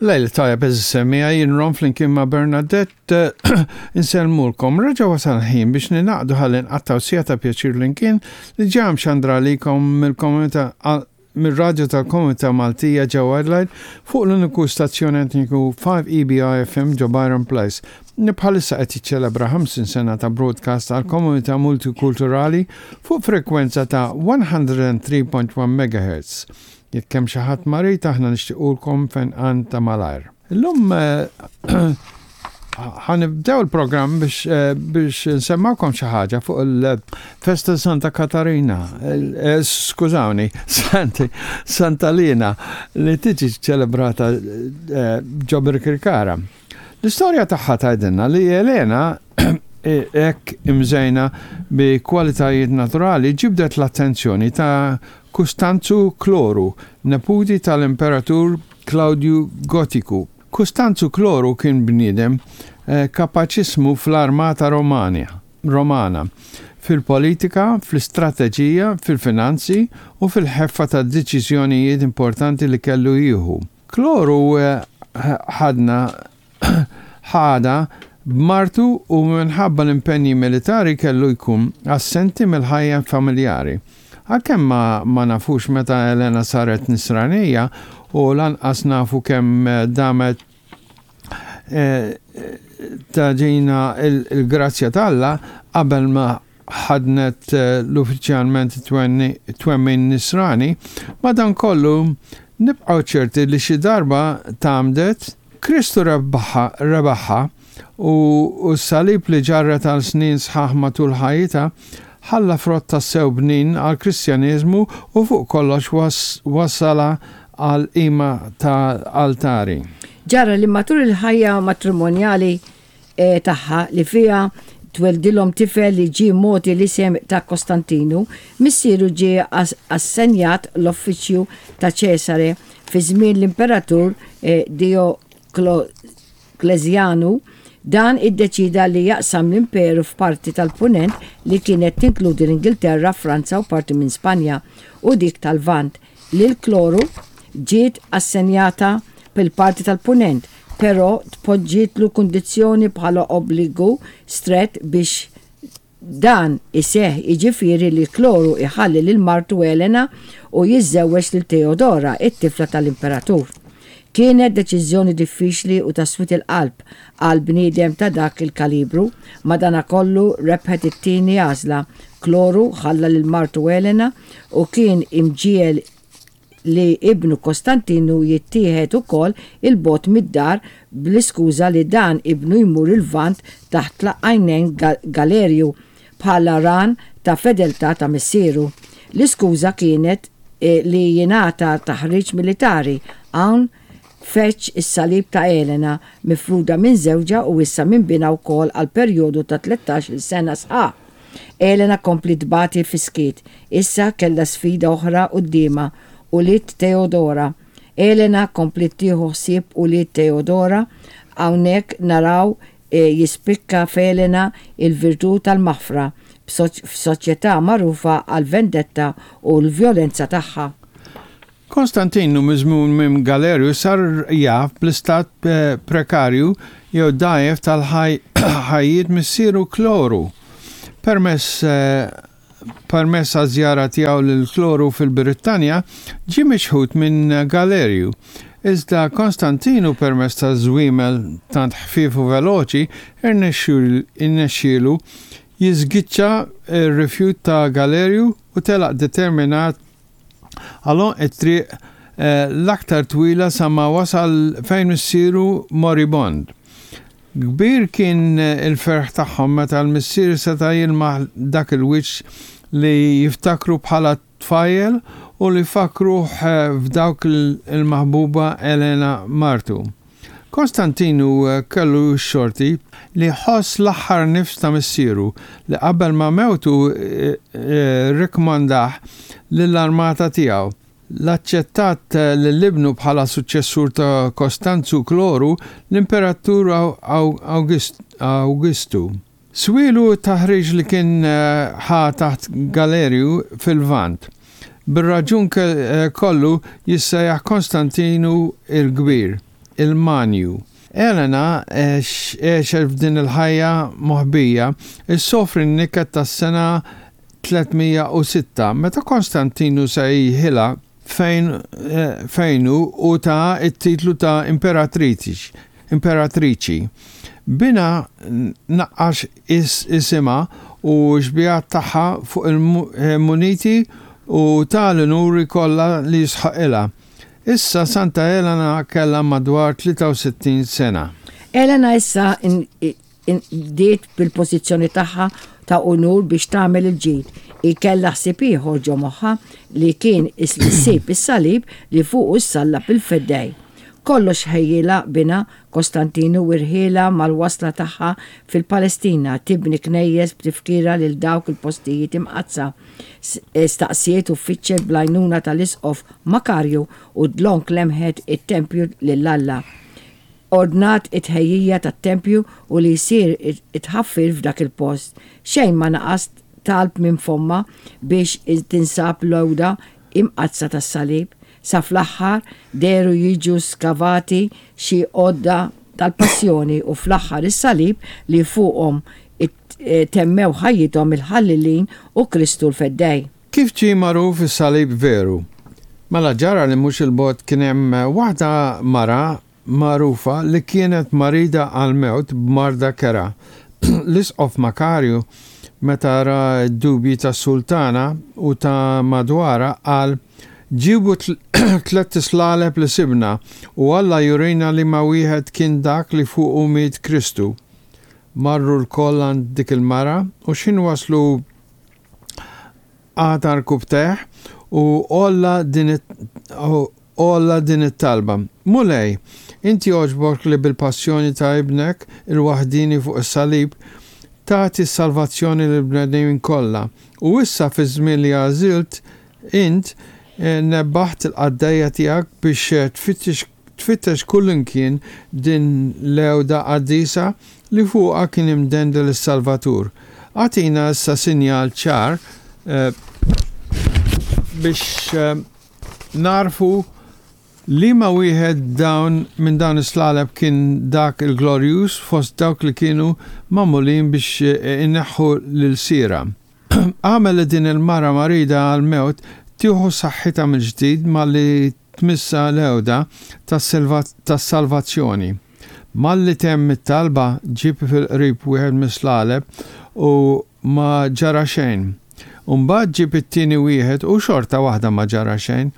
Lejl tajjeb eżis semmiegħa, jien Ron flimkien ma' Bernadette insellmulkom. Reġa' wasal ħin biex ningħaqdu ħalli nqattgħu siegħa ta' pjaċir flimkien li ġa mxandra għalikom mill-komunità mir-radju tal-komunità Maltija ġewwa Adelaide fuq l-uniku stazzjon etniku 5EBI FM ġo Byron Place li bħalissa qed jiċċelebra 50 sena ta' broadcast għall-komunità multikulturali fuq frekwenza ta' 103.1 MHz. Jekk hemm xi ħadd marid aħna nixtiequlkom fejnqan ta' malajr. Illum ħa nibdew il-programm biex eh, biex nsemmawkom xi ħaġa fuq il-festa Santa Katarina, eh, skużawni, Santi, Santa Lina li tiġi ċelebrata eh, ġo Birkirkara. L-istorja tagħha tgħidilna li Elena hekk imżejna bi kwalitajiet naturali ġibdet l-attenzjoni ta' Kustanzu Kloru, neputi tal-Imperatur Klawdju Gotiku. Kustanzu Kloru kien bniedem kapaċissmu fl-armata Romana, fil-politika, fl-istrateġija, fil-finanzi u fil-ħeffa ta' deċiżjonijiet importanti li kellu jieħu. Kloru ħadna ħadha b'martu u minħabba l-impenji militari kellu jkun assenti mill-ħajja familjari. Għalkemm ma ma nafux meta Elena saret Nisranija u lanqas nafu kemm damet tagħtina l-grazzja t'Alla qabel ma ħaddnet l-uffiċjalment it-twemmin Nisrani, madankollu nibqgħu ċerti li xi darba tgħammdet, Kristu rebaħha u s-salib li ġarret għal snin sħaħ matul ħajjitha ħalla frott tassew bnin għall-Kristjaneżmu u fuq kollox wassalha għall-qima ta' altari. Ġara li matul il-ħajja matrimonjali tagħha li fiha tweldilhom tifel li ġie mogħti l-isem ta' Kostantinu, missieru ġie assenjat l-uffiċċju ta' Ċesare fi żmien l-Imperatur Dijoklezjanu. Dan iddeċieda li jaqsam l-imperu f'parti tal-Punent li kienet tinkludi l-Ingilterra, Franza u parti minn Spanja, u dik tal-Lvant. Lil Kloru ġiet assenjata l-parti tal-Punent, però tpoġġietlu kundizzjoni bħala obbligu strett biex dan iseħħ jiġifieri li Kloru jħalli lil martu Elena u jiżżewweġ lil Teodora, it-tifla tal-imperatur. Kienet deċiżjoni diffiċli u ta' swied il-qalb għal bniedem ta' dak il-kalibru, madanakollu rebħet it-tieni għażla, Kloru ħalla lil martu Elena u kien imġiegħel li ibnu Kostantinu jittieħed ukoll 'il bogħod mid-dar bl-iskuża li dan ibnu jmur il-Lvant taħt għajnejn Galerju bħala ran ta' fedeltà ta' missieru. L-iskuża kienet li jingħata taħriġ militari. Hawn feġġ is-salib ta' Elena, mifruda minn żewġha u issa minn binha wkoll għal perjodu ta' tlettax-il sena sħaħ. Elena kompliet tbati fis-skiet. Issa kellha sfida oħra quddiemha, ulied Teodora. Elena kompliet tieħu ħsieb ulied Teodora. Hawnhekk naraw jispikka f'Elena il-virtù tal-maħfra f'soċjetà magħrufa għall-vendetta u l-vjolenza tagħha. Konstantinu miżmum minn Galerju sar jaf bl-istat prekarju jew dgħajjef tal-ħajjiet missieru Kloru. Permess permess għaż-żjara tiegħu lil Kloru fil-Brittanja ġie miċħud minn Galerju. Iżda Konstantinu permezz ta' żwiemel tant ħfief u veloċi irnexxielu jiżgiċċa r-rifjut ta' Galerju u telaq determinat Għal għonq it-triq l-aktar twila sa ma wasal fejn missieru moribond. Kbir kien il-ferħ tagħhom meta l-missier seta' jilmaħ dak il-wiċċ li jiftakru bħala tfajjel u li fakkruh f'dawk il-maħbuba Elena martu. Konstantinu kellu x-xorti li jħoss l-aħħar nifs ta' missieru li qabel ma mewtu rrikkmandah lill-armata tiegħu. L-aċċettat lil ibnu bħala suċċessur ta' Kostanzu Kloru, l-Imperatur Awgistu. Swielu t-taħriġ li kien ħa taħt Galerju fil-Lvant. Bir-raġun kollu jissejjaħ Konstantinu l-Kbir. il-Manju. Elena għexet f'din il-ħajja moħbija issofri n-niket tas-sena 306 meta Konstantinu sejħilha fejn fejnu u taha t-titlu ta' imperatriċi. Binha naqqax isimha u x-xbihat tagħha fuq il-muniti u ta l-unuri kollha li jisħoqilha. Issa Santa Elena kellha madwar 63 sena. Elena issa bdiet bil-pożizzjoni tagħha ta' unur biex tagħmel il-ġid. Hi kellha ħsieb ieħor ġo moħħha li kien li ssib is-salib li fuqu ssallab il-Feddej. Kollox ħejjielha binha Kostantinu u rħielha mal-wasla tagħha fil-Palestina tibni knejjes b'tifkira lil dawk il-postijiet imqaddsa. Staqsiet u fittxet bl-għajnuna tal-Isqof Makarju u dlonk lemħet it-tempju lil Alla. Ordnat it-tħejjija tat-tempju u li jsir it-tħaffir f'dak il-post. Xejn ma naqas talb minn fommha biex tinsab l-għuda imqaddsa tas-salib. Sa fl-aħħar dehru jiġu skavati xi għodda tal-passjoni u fl-aħħar is-salib li fuqhom temmew ħajjithom il-ħallelin u Kristu l-Feddej. Kif ġie magħruf is-salib veru? Mela ġara li mhux 'il bogħod kien hemm waħda mara magħrufa li kienet marida għall-mewt b'marda kerha. L-Isqof Makarju, meta ra d-dubji tas-sultana u ta' madwarha, qal, Ġibu tlett islaleb li sibna, u Alla jurina liema wieħed kien dak li fuqu miet Kristu. Marru lkoll għand dik il-mara, u x'ħin waslu qagħad għarkupptejh u għolla din għolla din it-talba, Mulej, int jogħġbok li bil-passjoni ta' Ibnek il-waħdieni fuq is-salib tagħti s-salvazzjoni lill-bnedmin kollha, u issa fiż-żmien li għażilt int nebbaħt il-qaddejja tiegħek biex tfittex tfittex kullimkien din l-għewda qaddisa li fuqha kien imdendel is-Salvatur. Agħtina issa sinjal ċar biex nagħrfu liema wieħed dawn minn dawn is-slaleb kien dak il-glorjuż fost dawk li kienu magħmulin biex ineħħu l-ilsiera. Agħmel li din il-mara marida għall-mewt tieħu saħħitha mill-ġdid malli tmissha l-għewda tas-salvazzjoni. Malli temm it-talba ġieb fil-qrib wieħed mis-slaleb u ma ġara xejn. U mbagħad ġieb it-tieni wieħed u xorta waħda ma ġara xejn.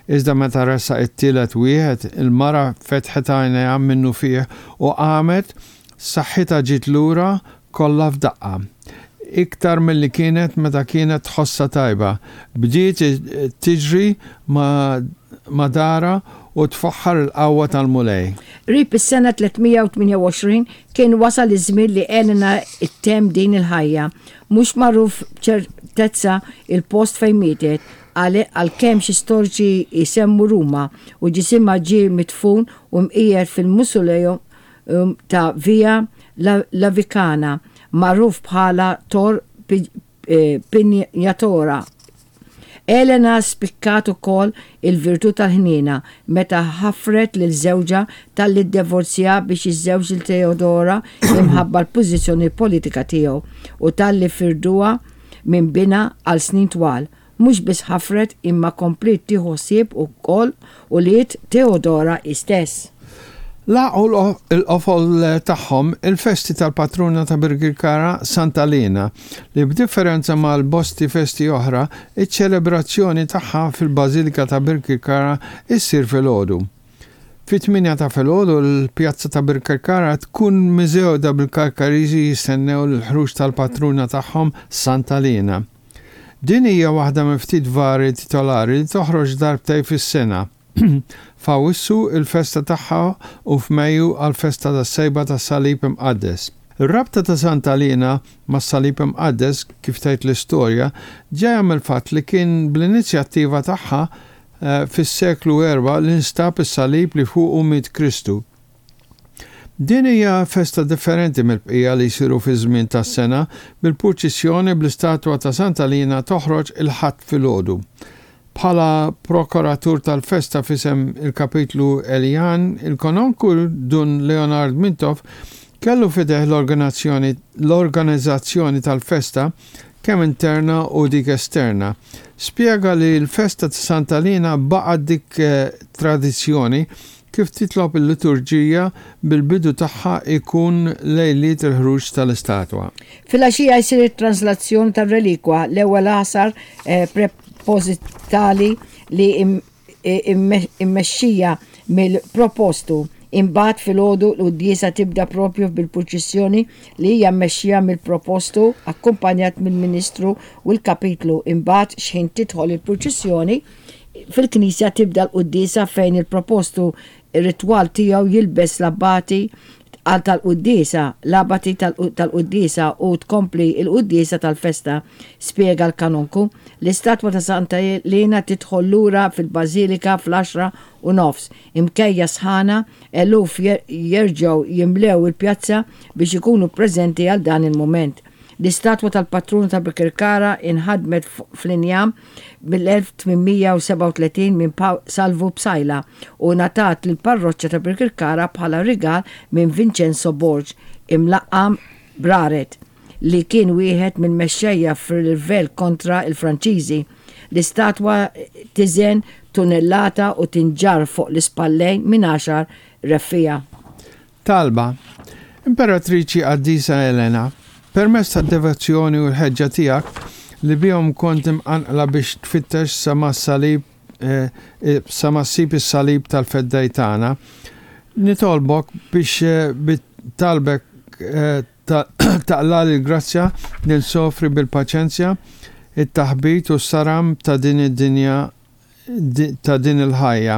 Iżda meta ressaq it-tielet wieħed, il-mara fetħet għajnejha minnufih u qamet, saħħitha ġiet lura kollha f'daqqa. Iktar milli kienet meta kienet tħossha tajba. Bdiet tiġri ma' darha u tfaħħar il-qawwa tal-Mulej. Qrib is-sena 328 kien wasal iż-żmien li Elena ttemm din il-ħajja. Mhux magħruf b'ċertezza il-post fejn mietet, għalkemm xi storiċi jsemmu Ruma, u ġisimha ġie midfun u mqiegħed fil-Musuleum ta' Via Lavicana, magħruf bħala Tor Pignatora. Elena spikkat ukoll il-virtù tal-ħniena meta ħafret lil żewġha talli ddevorzja biex jiżżewġ lil Teodora imħabba l-pożizzjoni politika tiegħu u talli firduha minn binha għal snin twal. Mhux biss ħafret imma kompliet tieħu ħsieb ukoll ulied Teodora hi stess. Lagħqu l-qofol tagħhom il-festi tal-patruna ta' Birkirkara, Santa Liena, li b'differenza mal-bosti festi oħra, iċ-ċelebrazzjoni tagħha fil-Bażilika ta' Birkirkara issir filgħodu. Fit-tmienja ta' filgħodu l-pjazza ta' Birkirkara tkun miżgħuda bil-Karkariżi jistennew l-ħruġ tal-patruna tagħhom Santa Liena. Din hija waħda minn ftit vari titolari li toħroġ darbtejn fis-sena, f'Awwissu, il-festa tagħha u f'Mejju għall-festa tas-Sejba tas-Salib Imqaddes. Ir-rabta ta' Santa Liena mas-Salib Imqaddes, kif tgħid l-istorja, ġejja mill-fatt li kien bl-inizjattiva tagħha fis-seklu erbgħa li nstab is-salib li fuqu miet Kristu. Din hija festa differenti mill-bqija li jsiru fiż-żmien tas-sena, bil-purċissjoni bl-istatwa ta' Santa Lina toħroġ il-Ħadd filgħodu. Bħala prokuratur tal-festa f'isem il-Kapitlu Eljan, il-Kononku Dun Leonard Mintoff kellu f'idejh l-organizzazzjoni tal-festa kemm interna u dik esterna. Spjega li l-festa ta' Santa Liena baqgħet dik tradizzjoni kif titlob il-liturġija bil-bidu tagħha jkun lejliet il-ħruġ tal-istatwa. Filgħaxija jsir it-translazzjoni tar-relikwa, l-ewwel għasar prepositali li immexxija mill-propostu. Imbagħad filgħodu l-quddiesa tibda propju bil-purċissjoni li hija mmexxija mill-propostu akkumpanjat mill-ministru u l-kapitlu. Imbagħad x'ħin tidħol il-purċissjoni fil-knisja tibda l-quddiesa fejn il-propostu ritwal tiegħu jilbes l-abbati għal tal-quddiesa, l-abati tal-quddiesa u tkompli l-quddiesa tal-festa, spjega l-Kanonku. L-istatwa ta' Santa Liena tidħol lura fil-Bażilika fl-għaxra u nofs. Imkejja sħana, eluf jerġgħu jimlew il-pjazza biex ikunu preżenti għal dan il-mument. L-istatwa tal-patruna ta' Birkirkara inħadmet fl-injam mill-1837 minn Salvu Psaila u ngħatat lill-parroċċa ta' Birkirkara bħala rigal minn Vincenzo Borg, imlaqqam Braret, li kien wieħed mill-mexxejja fir-rivell kontra l-Franċiżi. L-istatwa tiżen tunellata u tinġarr fuq l-ispallejn minn għaxar reffiegħa. Talba, Imperatriċi Qaddisa Elena, permezz tad-devozzjoni u l-ħeġġa tiegħek li bihom kont imqanqla biex tfittex sa ma s-salib sa ma ssib is-salib tal-Feddej tagħna, nitolbok biex bit-talbek taqlagħli l-grazzja li nsofri bil-paċenzja it-taħbit u s-saram ta' din id-dinja ta' din il-ħajja,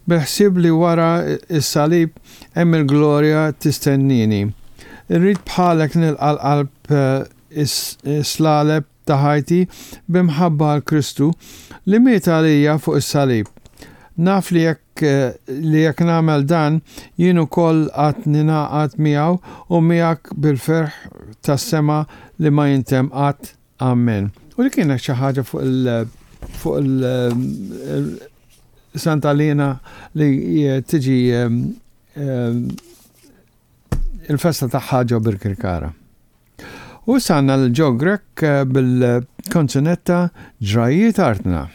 bil-ħsieb li wara s-salib hemm il-glorja tistennieni. Irrid bħalek nilqa' l-qalb is-slaleb ta' ħajti bi mħabba għal Kristu li miet għalija fuq is-salib. Naf li jekk li jekk nagħmel dan, jien ukoll għad ningħaqad miegħu u miegħek bil-ferħ tas-sema li ma jintemm qatt. Amen. U li kienet xi ħaġa fuq il fuq il Santa Lina li tiġi il-festa tagħha ġo Birkirkara. U issa għandna l-Joe Grech bil-kanzunetta Ġrajiet Artna.